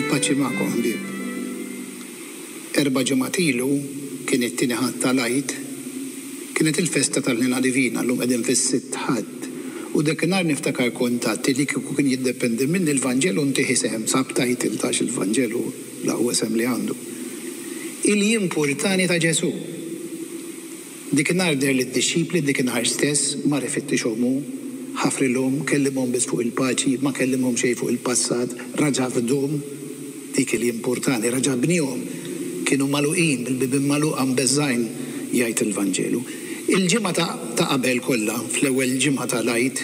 Il-paċi magħkom ħbieb. Erba' ġimgħat ilu, kien it-tieni Ħadd tal-Għid, kienet il-festa tal-Ħniena Divina, llum qegħdin fis-sitt Ħadd, u dakinhar niftakar kont għedt li kieku kien jiddependi minni l-Vanġelu ntih isem, subtitle ta' għax il-Vanġelu l-aqwa isem li għandu. Il-jimpurtani ta' Ġesù. Dikinhar deher lid-dixxipli, dikinhar stess, mar ifittixhom hu, ħafrilhom, kellimhom biss fuq il-paċi, ma kellimhom xejn fuq il-passat, raġa' fdhom, dik li jimpurtani, raġa' bniehom, kienu magħluqin, bil-bibien magħluqa mbeżżgħin, jgħid il-Vanġelu. Il-ġimgħa ta' ta' qabel kollha, fl-ewwel ġimgħa ta' l-Għid,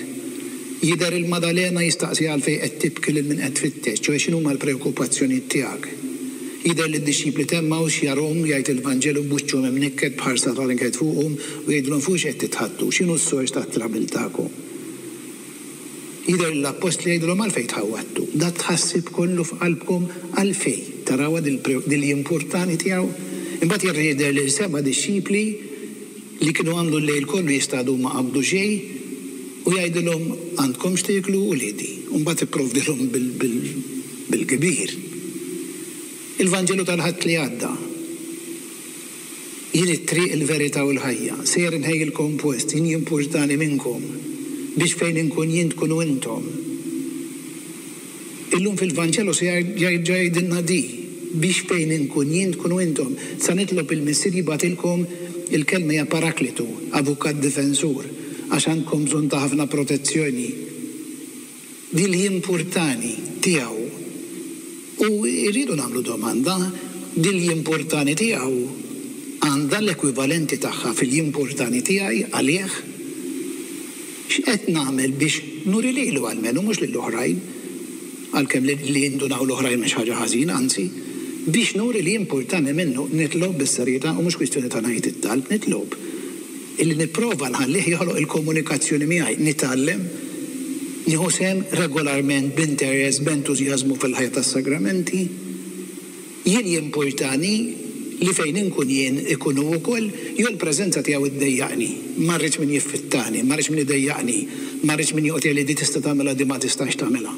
jidher il-Madalena jistaqsiha għalfejn qed tibki lil min qed tfittex, ċoe x'inhuma l-preokkupazzjonijiet tiegħek. Jidher li d-dixxipli t'Għemmaws jarhom, jgħid il-Vanġelu, b'wiċċhom imnikket, b'ħarsa ta' niket fuqhom, u jgħidilhom, Fuqiex qed titħaddtu? X'inhu s-sors tat-trabil tagħkom? Jidher li l-appostli jgħidulhom, Għalfejn tħawwadtu? Dat-tħassib kollu f'qalbkom għalfejn? Tarawha dil-jimpurtani tiegħu? Imbagħad jerġa' jidher lil seba' dixxipli li kienu għamlu l-lejl kollu jistadu u ma qabdu xejn, u jgħidilhom, Għandkom x'tieklu, uliedi? U mbagħad ipprovdilhom bil-kbir. Il-Vanġelu tal-Ħadd li għadda. Jien it-triq, il-verità u l-ħajja. Sejjer inħejjilkom post, jien jimpurtani minnkom, biex fejn inkun jien tkunu intom. Illum fil-Vanġelu se jerġa' jgħidilna di, biex fejn inkun jien tkunu intom. Sa nitlob il-Missier jibgħatilkom, il-kelma hija paraklitu, avukat difensur, għax għandkom bżonn ta' ħafna protezzjoni. Di li jimpurtani tiegħu. U rridu nagħmlu domanda, di li jimpurtani tiegħu għandha l-ekwivalenti tagħha fil-jimpurtani tiegħi għalih? X'qed nagħmel biex nuri lilu almenu, mhux lill-oħrajn, għalkemm li jindunaw l-oħrajn mhix ħaġa ħażina, anzi, biex nuri li jimpurtani minnu, nitlob bis-serjetà u mhux kwistjoni ta' ngħid it-talb, nitlob. Illi nipprova nħallih joħloq il-komunikazzjoni miegħi, nitgħallem, nieħu sehem regolarment b'interess, b'entużjażmu fil-ħajja tas-sagramenti. Jien jimpurtani li fejn inkun jien ikun hu wkoll, jew l-preżenza tiegħu ddejjaqni. Ma rridx min jiffittani, ma rridx min idejjaqni, ma rridx min joqgħod jgħidli di tista' tagħmilha di ma tistax tagħmilha.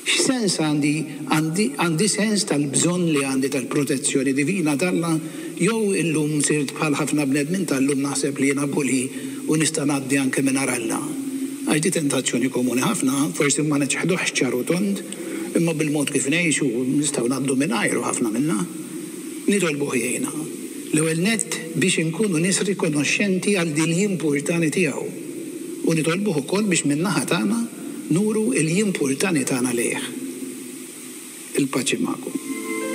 X'sens għandi, għandi, għandi sens tal-bżonn li għandi tal-protezzjoni divina t'Alla, jew illum sirt bħal ħafna bnedmin tal-lum naħseb li jiena bully u nista' ngħaddi anke mingħajr Alla? Għax di tentazzjoni komuni ħafna, forsi ma niċħduhx ċar u tond, imma bil-mod kif ngħixu nistgħu ngħaddu mingħajru ħafna minna. Nitolbuh jgħinna, l-ewwel nett biex inkunu nies rikonoxxenti għal din l-jimpurtani tiegħu, u nitolbuh ukoll biex min-naħa tagħna, Nuru l-jimpurtani tagħna lejh. Il-paċi magħkom.